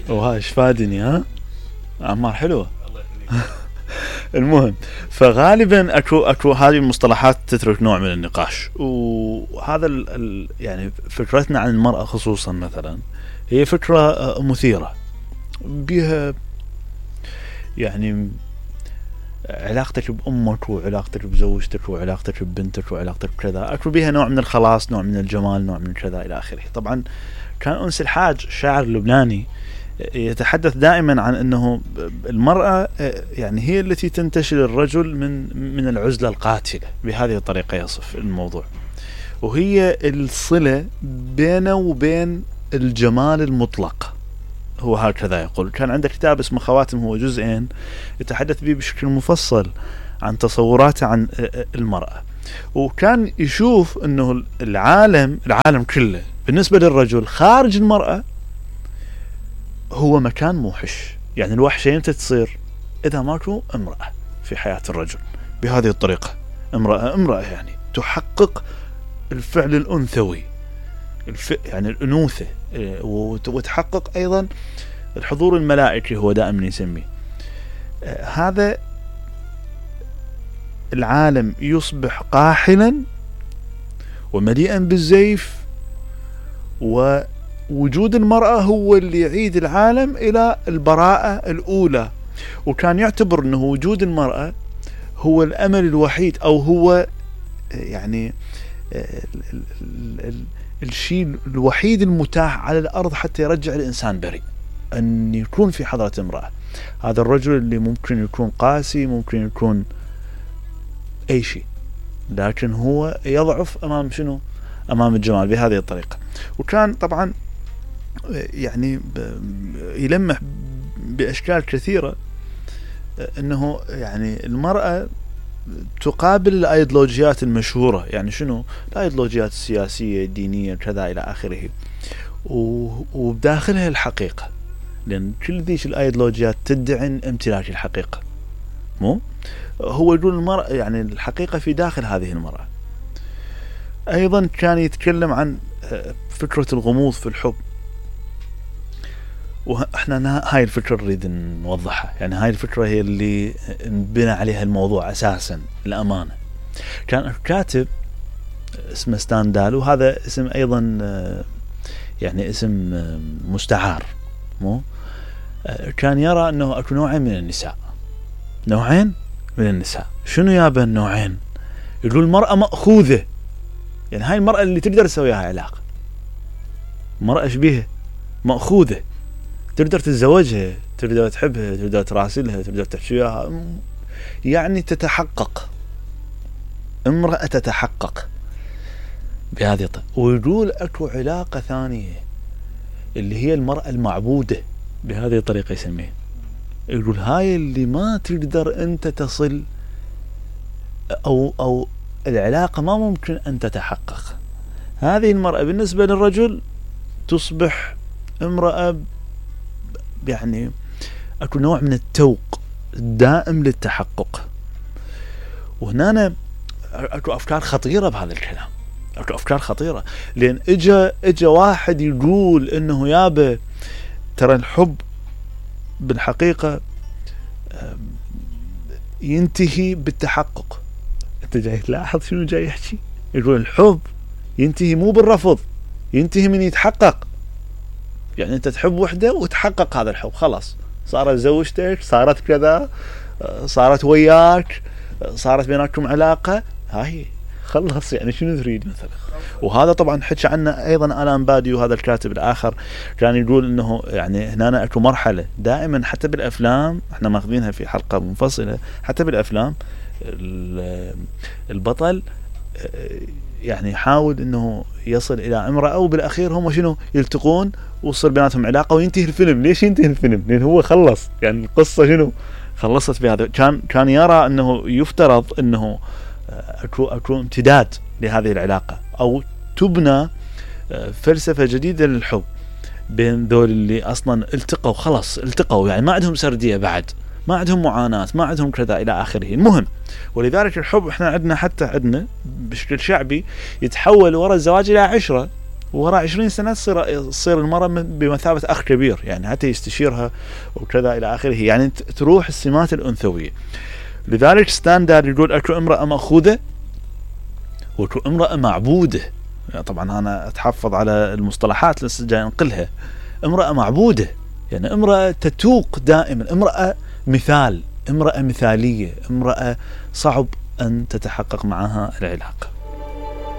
وها ايش فادني ها اعمار حلوه. المهم فغالبا اكو هذه المصطلحات تترك نوع من النقاش. وهذا يعني فكرتنا عن المرأة خصوصا مثلا هي فكرة مثيرة بها، يعني علاقتك بأمك وعلاقتك بزوجتك وعلاقتك ببنتك وعلاقتك بكذا اكو بها نوع من الخلاص، نوع من الجمال، نوع من كذا الى اخره. طبعا كان أنس الحاج شاعر لبناني يتحدث دائما عن انه المرأة يعني هي التي تنتشل الرجل من العزلة القاتلة، بهذه الطريقة يصف الموضوع، وهي الصلة بينه وبين الجمال المطلق. هو هكذا يقول. كان عنده كتاب اسمه خواتم، هو جزئين يتحدث به بشكل مفصل عن تصوراته عن المرأة، وكان يشوف انه العالم كله بالنسبة للرجل خارج المرأة هو مكان موحش. يعني الوحشة امتى تصير؟ اذا ماكو امرأة في حياة الرجل بهذه الطريقة. امرأة يعني تحقق الفعل الانثوي، يعني الانوثة، وتحقق ايضا الحضور الملائكي هو دائما يسميه. هذا العالم يصبح قاحلا ومليئا بالزيف، ووجود المرأة هو اللي يعيد العالم إلى البراءة الأولى. وكان يعتبر أنه وجود المرأة هو الأمل الوحيد، أو هو يعني الشيء الوحيد المتاح على الأرض حتى يرجع الإنسان بريء، أن يكون في حضرة امرأة. هذا الرجل اللي ممكن يكون قاسي، ممكن يكون أي شيء، لكن هو يضعف أمام شنو؟ أمام الجمال بهذه الطريقة. وكان طبعا يعني يلمح بأشكال كثيرة أنه يعني المرأة تقابل الأيديولوجيات المشهورة. يعني شنو؟ الأيديولوجيات السياسية الدينية كذا إلى آخره، وبداخلها الحقيقة، لأن كل ذيش الأيديولوجيات تدعي امتلاك الحقيقة. مو هو يقول المرأة يعني الحقيقة في داخل هذه المرأة. أيضا كان يتكلم عن فكرة الغموض في الحب، وإحنا هاي الفكرة نريد نوضحها. يعني هاي الفكرة هي اللي نبنى عليها الموضوع أساسا الأمانة. كان كاتب اسمه ستاندال، وهذا اسم أيضا يعني اسم مستعار. مو كان يرى أنه أكو نوعين من النساء. نوعين من النساء. شنو يابا النوعين؟ يقول المرأة مأخوذة، يعني هاي المرأة اللي تقدر تسويها علاقة. مرأة شبيهة مأخوذة، تقدر تتزوجها، تقدر تحبها، تقدر تراسلها، تقدر تحكي وياها، يعني تتحقق. امرأة تتحقق بهذه الطريقة. ويقول اكو علاقة ثانية اللي هي المرأة المعبودة، بهذه الطريقة يسميه. يقول هاي اللي ما تقدر انت تصل، او العلاقة ما ممكن ان تتحقق. هذه المرأة بالنسبة للرجل تصبح امرأة، يعني اكو نوع من التوق الدائم للتحقق. وهنا اكو افكار خطيرة بهذا الكلام، اكو افكار خطيرة. لان اجا واحد يقول انه يابا ترى الحب بالحقيقة ينتهي بالتحقق. انت جاي تلاحظ شنو جاي يحكي؟ يقول الحب ينتهي مو بالرفض، ينتهي من يتحقق. يعني انت تحب وحده وتحقق هذا الحب، خلاص صارت زوجتك، صارت كذا، صارت وياك، صارت بينكم علاقة، هاي خلص. يعني شنو تريد مثلا؟ وهذا طبعا حكى عنه ايضا آلان بادي، وهذا الكاتب الاخر كان يقول انه يعني هنا اكو مرحلة دائما حتى بالافلام، احنا ماخذينها في حلقة منفصلة، حتى بالافلام البطل يعني يحاول انه يصل الى امرأة، وبالاخير هم شنو يلتقون وصل بيناتهم علاقة وينتهي الفيلم. ليش ينتهي الفيلم؟ لان هو خلص، يعني القصة شنو خلصت بهذا. كان يرى انه يفترض انه اكو امتداد لهذه العلاقة، او تبنى فلسفة جديدة للحب بين ذول اللي اصلا التقوا، خلاص التقوا، يعني ما عندهم سردية بعد، ما عندهم معاناة، ما عندهم كذا الى اخره. المهم، ولذلك الحب احنا عندنا حتى عندنا بشكل شعبي يتحول وراء الزواج الى عشرة. وراء 20 سنة تصير المرأة بمثابة أخ كبير، يعني حتى يستشيرها وكذا إلى آخره، يعني تروح السمات الأنثوية. لذلك ستاندرد يقول أكو امرأة مأخوذة وأكو امرأة معبودة. يعني طبعا أنا أتحفظ على المصطلحات لسه جاي أنقلها. امرأة معبودة يعني امرأة تتوق دائما، امرأة مثال، امرأة مثالية، امرأة صعب أن تتحقق معها العلاقة.